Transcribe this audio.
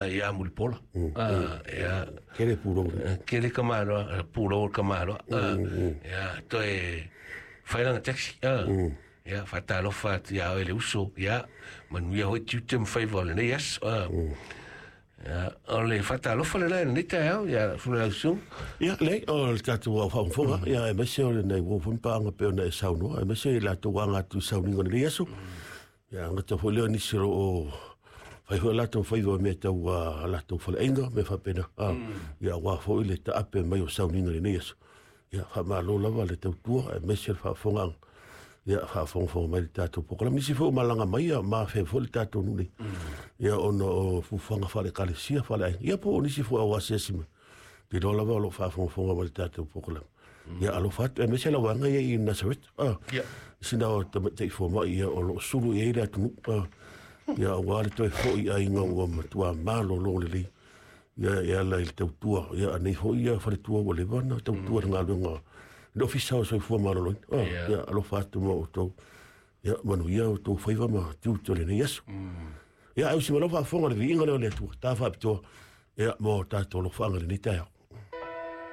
Ia Mulipola. Ia. Kele pulou. Kele ka maloa, pulou ka maloa. Ia, toe fai lana taxi. Ia, faatalofa atu ia oe le uso. Ia, manuia foi tiute ma faiva o lenei aso. Ia, o le faatalofa lena i lenei taeao, ia Fulelaususuga. Ia, leai, o le tatou au faafogafoga, ia, aemaise o lenei uo foi ma paaga pei ona e saunoa, aemaise i latou aga atu i sauniga o lenei aso. Ia, gata foi lea o nisi o lo o fai foi latou faiva i mea tau a latou faleaiga, mea faapena. Ia, aua foi le taape mai o sauniga i lenei aso. Ia, faamalo lava le tautua, aemaise le faafofogaaga. Ia, faafogafoga mai i le tatou polokalame. Nisi foi o malaga mai, ia, ma afea foi le tatou nuu nei. Ia, ona o fuafuaga faale-ekalesia, faale-aiga. Ia, po o nisi foi o asiasi mai. Te iloa lava o lo o faafogafoga mai i le tatou polokalame. Ia, alofa atu, aemaise lau vaega ia i Nasaret. Sina o tamaitai fomai ia o lo o sulu i ai le atunuu. Ia, aua le toe foi i aiga ua matua malolo lelei. Ia, e ala i le tautua. Ia, anei foi ia faletua ua leva ona tautua i le galuega i le Ofisa o Soifua Maloloina. Ia, alofa atu ma outou. Ia, manuia outou faiva ma tiute o lenei aso. Ia, ae usi mai lau faafofoga i le viiga lea o le Atua, ta faapitoa, ia, mo tatou alofaaga i lenei taeao.